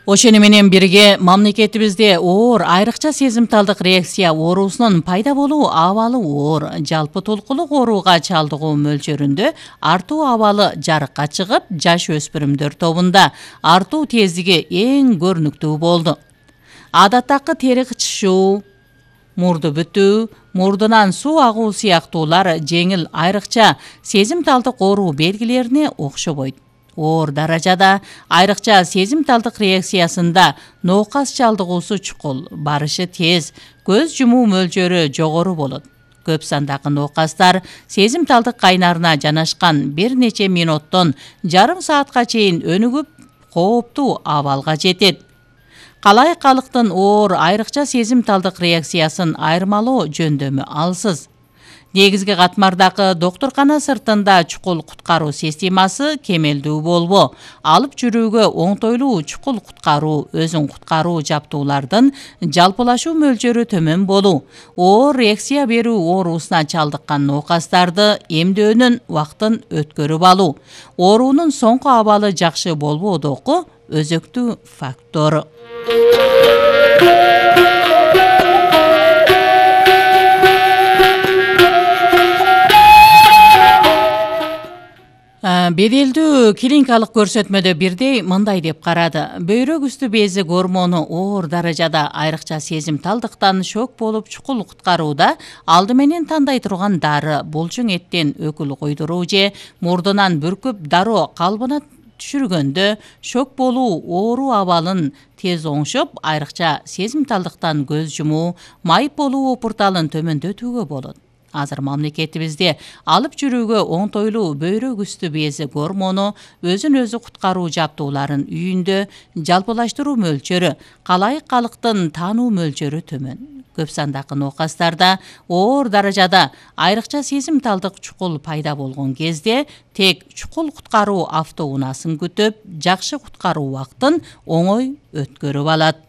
Ошону менен бирге мамлекетибизде оор айрыкча сезимталдык реакция оорусунун пайда болуу абалы оор, жалпы толкулук ооруга чалдыгуу мөлчөрүндө артуу абалы жарыкка чыгып, жаш өспүрүмдөр тобунда артуу тездиги эң көрүнүктүү болду. Адаттагы тери кычышуу, мурду бүтүү, мурдунан суу агуу сыяктуулар жеңил айрыкча сезимталдык оору белгилерине окшобойт. Оор даражада айрыкча сезимталдык реакциясында ноокас чалдыгуусу чукул, барышы тез, көз жумуу мөлчөрү жогору болот. Көп сандагы ноокастар сезимталдык кайнарына жанашкан бир нече минуттон жарым саатка чейин өнүгүп, кооптуу абалга жетет. Калай калктын оор айрыкча сезимталдык реакциясын айырмалоо жөндөмү алсыз. Негизги катмардагы доктуркана сыртында чукул куткаруу системасы кемелдүү болбоо, алып жүрүүгө оңтойлуу чукул куткаруу, өзүн куткаруу жабдуулардын жалпылашуу мөлчөрү төмөн болуу, оор реакция берүү оорусуна чалдыккан ноокастарды эмдөөнүн убактын өткөрүп алуу, оорунун соңку абалы жакшы болбоодогу өзөктүү фактор. Беделдүү клиникалык көрсөтмөдө бирдей мындай деп карады. Бөйрөк үстү бези гормону оор даражада айрыкча сезимталдыктан шок болуп чукул куткарууда алды менен тандай турган дары, булчуң эттен өкүл койдуруу же мурдунан бүркүп дароо калыбына түшүргөндө шок болуу оору абалын тез оңшоп, айрыкча сезимталдыктан көз жумуу, майып болуу опурталын төмөндөтүүгө болот. Азыр мамлекетибизде алып жүрүүгө оңтойлуу бөйрөк үстү бези гормону өзүн өзү куткаруу жабдууларын үйүндө жалпылаштыруу мөлчөрү, калай калктын таануу мөлчөрү төмөн. Көп сандагы ноокастарда оор даражада айрыкча сезимталдык чукул пайда болгон кезде тек чукул куткаруу автоунаасын күтүп, жакшы куткаруу убактын оңой өткөрүп алат.